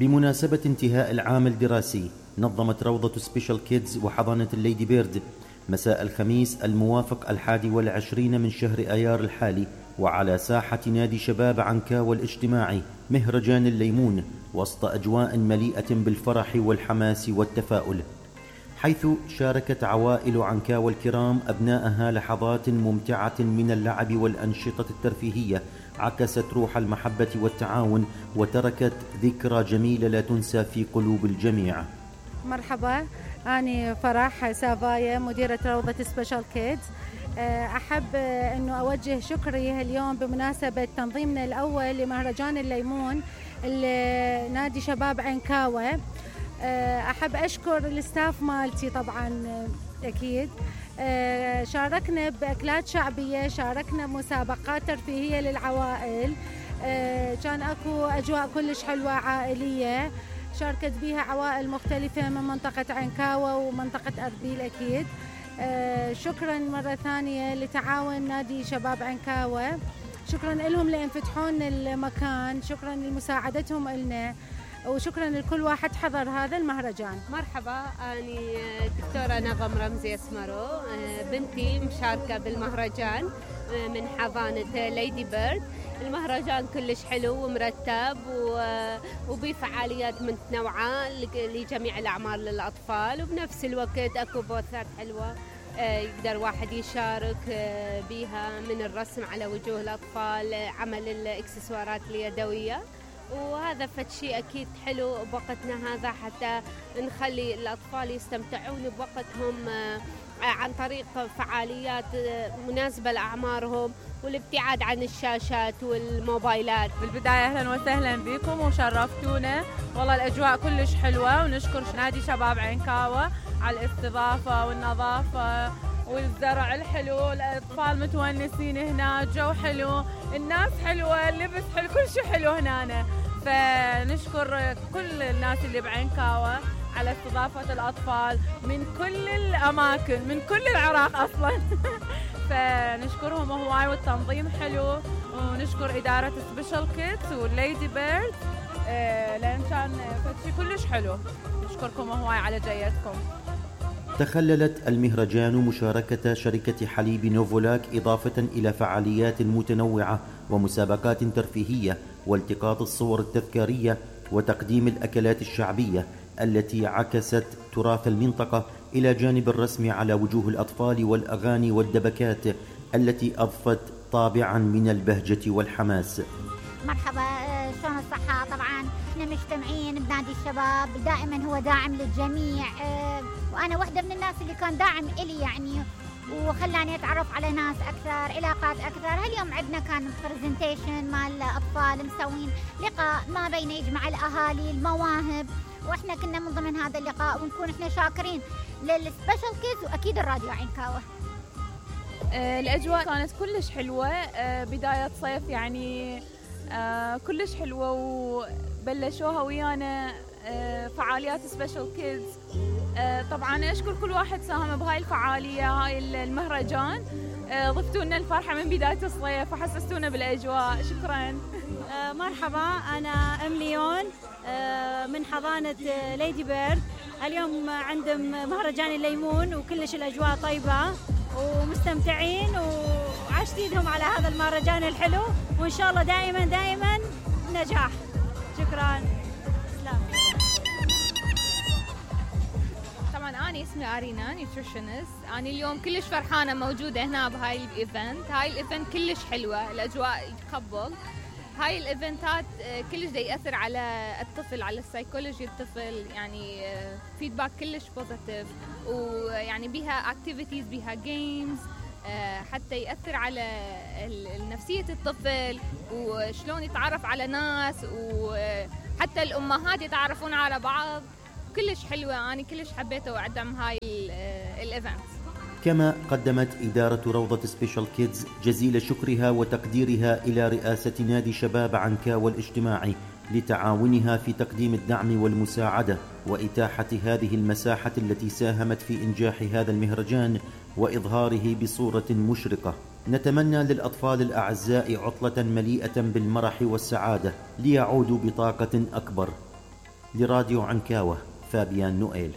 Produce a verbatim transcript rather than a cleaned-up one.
بمناسبة انتهاء العام الدراسي، نظمت روضة سبيشال كيدز وحضانة الليدي بيرد مساء الخميس الموافق الحادي والعشرين من شهر آيار الحالي وعلى ساحة نادي شباب عنكاوى الاجتماعي مهرجان الليمون، وسط أجواء مليئة بالفرح والحماس والتفاؤل، حيث شاركت عوائل عنكاوى الكرام أبنائها لحظات ممتعة من اللعب والأنشطة الترفيهية عكست روح المحبة والتعاون وتركت ذكرى جميلة لا تنسى في قلوب الجميع. مرحبا، أنا فرح سافايا مديرة روضة سبيشال كيدز. أحب أنه أوجه شكري اليوم بمناسبة تنظيمنا الأول لمهرجان الليمون نادي شباب عنكاوى. أحب أشكر الستاف مالتي طبعا أكيد. شاركنا بأكلات شعبية، شاركنا مسابقات ترفيهية للعوائل، كان أكو أجواء كلش حلوة عائلية شاركت بها عوائل مختلفة من منطقة عنكاوى ومنطقة أربيل أكيد. شكرا مرة ثانية لتعاون نادي شباب عنكاوى، شكرا لهم لأن فتحون المكان، شكرا لمساعدتهم إلنا، وشكرا لكل واحد حضر هذا المهرجان. مرحبا، أنا دكتورة نغم رمزي اسمرو، بنتي مشاركة بالمهرجان من حضانة ليدي بيرد. المهرجان كلش حلو ومرتب وبفعاليات متنوعة لجميع الأعمار للأطفال، وبنفس الوقت أكو بوثات حلوة يقدر واحد يشارك بها من الرسم على وجوه الأطفال، عمل الإكسسوارات اليدوية، وهذا فد شيء أكيد حلو بوقتنا هذا حتى نخلي الأطفال يستمتعون بوقتهم عن طريق فعاليات مناسبة لأعمارهم والابتعاد عن الشاشات والموبايلات. بالبداية أهلا وسهلا بكم وشرفتونا، والله الأجواء كلش حلوة، ونشكر نادي شباب عنكاوى على الاستضافة والنظافة والزرع الحلو، الأطفال متونسين هنا، الجو حلو، الناس حلوة، اللبس حلو، كل شيء حلو هنا. فنشكر كل الناس اللي بعنكاوى على استضافة الأطفال من كل الأماكن، من كل العراق أصلا. فنشكرهم هواي، والتنظيم حلو، ونشكر إدارة سبيشال كيدز والليدي بيرد لأن كان شيء كلش حلو. نشكركم هواي على جيتكم. تخللت المهرجان مشاركة شركة حليب نوفولاك إضافة إلى فعاليات متنوعة ومسابقات ترفيهية والتقاط الصور التذكارية وتقديم الأكلات الشعبية التي عكست تراث المنطقة، إلى جانب الرسم على وجوه الأطفال والأغاني والدبكات التي أضفت طابعا من البهجة والحماس. مرحبا، شلون الصحة؟ طبعا احنا مجتمعين بنادي الشباب، دائما هو داعم للجميع، وأنا واحدة من الناس اللي كان داعم إلي يعني، وخلاني أتعرف على ناس أكثر، علاقات أكثر. هاليوم عندنا كان برزنتيشن مع الأطفال، مسوين لقاء ما بين يجمع الأهالي المواهب، وإحنا كنا من ضمن هذا اللقاء، ونكون إحنا شاكرين للسبيشال كيدز وأكيد الراديو عنكاوى. الأجواء كانت كلش حلوة، بداية صيف يعني كلش حلوة، وبلشوها ويانا فعاليات سبيشال كيدز. طبعا أشكر كل واحد ساهم بهاي الفعالية، هاي المهرجان، ضفتوا لنا الفرحة من بداية الصيف وحسستونا بالأجواء. شكرا. مرحبا، أنا أم ليون من حضانة ليدي بيرد. اليوم عندهم مهرجان الليمون وكلش الأجواء طيبة ومستمتعين، وعاشتينهم على هذا المهرجان الحلو، وإن شاء الله دائما دائما نجاح. شكرا. سلام. طبعا أنا اسمي أرينا نيوتريشنست. أنا اليوم كلش فرحانة موجودة هنا بهاي الإيفنت. هاي الإيفنت كلش حلوة، الأجواء يتقبل. هاي الإيفنتات كلش دا يأثر على الطفل، على السايكولوجي الطفل، يعني فيدباك كلش بوزيتيف، ويعني بيها اكتيفيتيز، بيها جيمز، حتى يأثر على نفسية الطفل وشلون يتعرف على ناس، وحتى الأمهات يتعرفون على بعض. كلش حلوة، أنا كلش حبيته وأدعم هاي الإيفنت. كما قدمت إدارة روضة سبيشال كيدز جزيل شكرها وتقديرها إلى رئاسة نادي شباب عنكاوى الاجتماعي لتعاونها في تقديم الدعم والمساعدة وإتاحة هذه المساحة التي ساهمت في إنجاح هذا المهرجان وإظهاره بصورة مشرقة. نتمنى للأطفال الأعزاء عطلة مليئة بالمرح والسعادة ليعودوا بطاقة أكبر. لراديو عنكاوة، فابيان نوئيل.